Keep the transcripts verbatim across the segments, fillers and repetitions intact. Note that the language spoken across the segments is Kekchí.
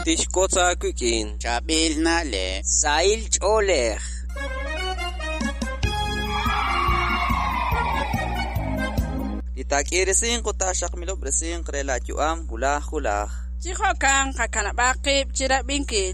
Tixwotz aawik'in Chaab'il na'leb'. Sahil ch'oolej. Li taak'iirisinq ut taaxaqmilob'resinq re laayu'am wulaj wulaj. Chi jo'kan qakanab'aq qib' chi rab'inkil.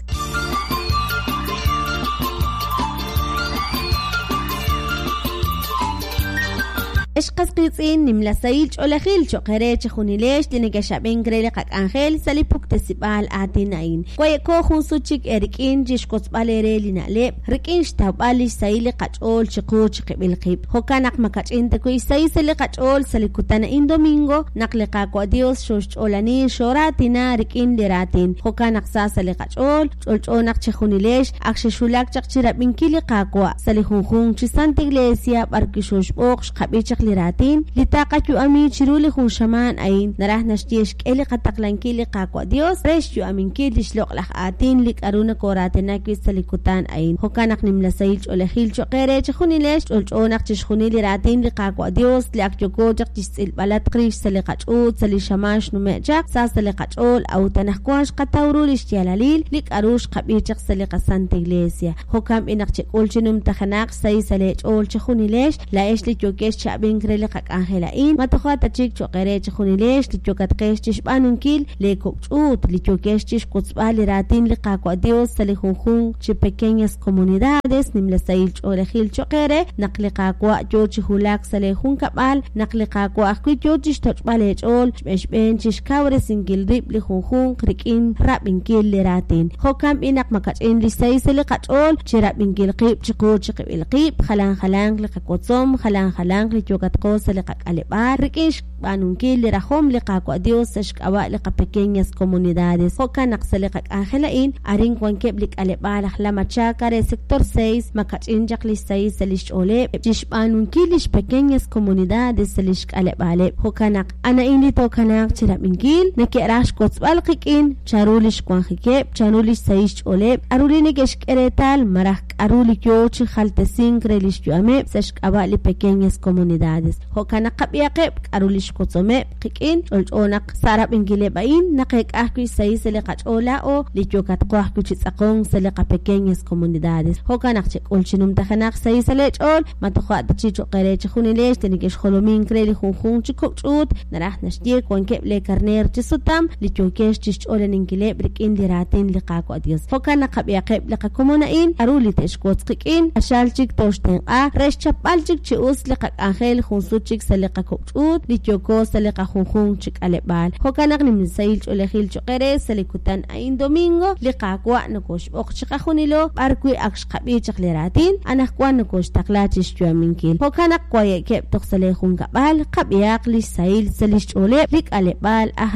Ex qas qiitz'in nimla sahil ch'oolejil cho'q eere chejunilex li nekexab'ink re li qak'anjel sa' li puktesib'aal aatin a'in. Waye'ko jun sut chik eerik'in chi xwotzb'al eere li na'leb' rik'in xtawb'al li xsahil li qach'ool chiqu chiqib'il qib'. Jo'kan naq makach'in ta wi' xsahil sa' li qach'ool sa' li kutan a'in domingo naq li Qaawa' Dios xooxch'oolani xooraatina rik'in li raatin. Jo'kan naq sa sa' li qach'ool, ch'olch'o naq chejunilex ak xexwulak chaq chi rab'inkil li Qaawa' sa' li junjunq chi Santa Iglesia b'arwi' xooxb'oq xqab'i chaq li raatin li taqayu'ami chiru li jun xamaan a'in naraj naxye xk'e li qataqlankil li Qaawa' Dios re xyu'aminkil li xloq'laj aatin li k'aru nakooraatina wi' sa' li kutan a'in. Jo'kan naq nimla sahil ch'oolejil cho'q eere chejunilex ch'olch'o naq chixjunil li raatin li Qaawa' Dios li ak yooko chaq chixtz'ilb'alatq rix sa' li qach'uut sa' li xamaan xnume' chaq sa sa' li qach'ool a'ut anaqwan xqataw ru li xyaalalil li k'aru xqab'i chaq sa' li qaSanta Iglesia. Jo'kan b'i naq chek'ul chi numtajenaq xsahil sa' leech'ool chejunilex laa'ex li yookex chi ab'ink re li qak'anjel a'in ma toja' ta chik cho'q eere chejunilex li yokatqex chi xb'aanunkil li kok' ch'uut li yookex chi xwotzb'al li raatin li Qaawa' Dios sa' li junjunq chi pequeñas comunidades nimla sahil ch'oolejil cho'q eere naq li Qaawa' yoo chi wulak sa' lee junkab'al naq li Qaawa' ajwi' yoo chi xtoch'b'al eech'ool xb'een xb'een chi xkawresinkil rib' li junjunq rik'in rab'inkil li raatin. Jo'kan b'i naq makach'in li xsahil sa' li qach'ool chi rab'inkil qib' chiqu chiqib'il qib' jalan jalanq li qawotzom jalan jalanq li yokatqo sa' li qak'aleb'aal rik'in xb'aanunkil li rajom li Qaawa' Dios sa' xk'ab'a' li qapequeñas comunidades. Jo'kan naq sa' li qak'anjel a'in arin wankeb' li k'aleb'aal aj La Machaca re sector seis makach'in chaq li xsahil sa' li xch'ooleb' chi xb'aanunkil li xpequeñas comunidades sa' li xk'aleb'aaleb'. Jo'kan naq ana'in li tookanaaq chi rab'inkil neke'raj xwotzb'al qik'in chanru li xwanjikeb' chanru li xsahil xch'ooleb' k'aru li neke'xk'e reetal malaj k'aru li yoo chi jaltesink re li xyu'ameb' sa' xk'ab'a' li pequeñas comunidades. Jo'kan naq qab'ihaqeb' k'aru li xwotzomeb' qik'in ch'olch'o naq sa' rab'inkileb' a'in naqeek'a ajwi' xsahil sa' li qach'ool laa'o li yookatqo ajwi' chi tz'aqonk sa' li qapequeñas comunidades. Jo'kan naq chek'ul chi numtajenaq xsahil sa' leech'ool ma toja' ta chi cho'q eere chejunilex li neke'xjolomink re li junjunq chi kok' ch'uut naraj naxye wankeb' lee karneer chi sutam li yookex chi xch'oolaninkileb' rik'in li raatin li Qaawa' Dios. Jo'kan naq qab'ihaqeb' li qakomon a'in k'aru li te'xwotz qik'in q'axal chik tooxtenq'a re xchapb'al chik chi us li qak'anjel jun sut chik sa' li qakok' ch'uut li yooko sa' li qajunjunq chi k'aleb'aal. Jo'kan naq nimla sahil ch'oolejil cho'q eere sa' li kutan a'in domingo li Qaawa' nokoxb'oq chiqajunilo b'arwi' ak xqab'i chaq li raatin anaqwan nokoxtaqla chi xyu'aminkil. Jo'kan naq waye'keb' toj sa' lee junkab'al qab'ihaq li xsahil sa' li xch'ooleb' li k'aleb'aal aj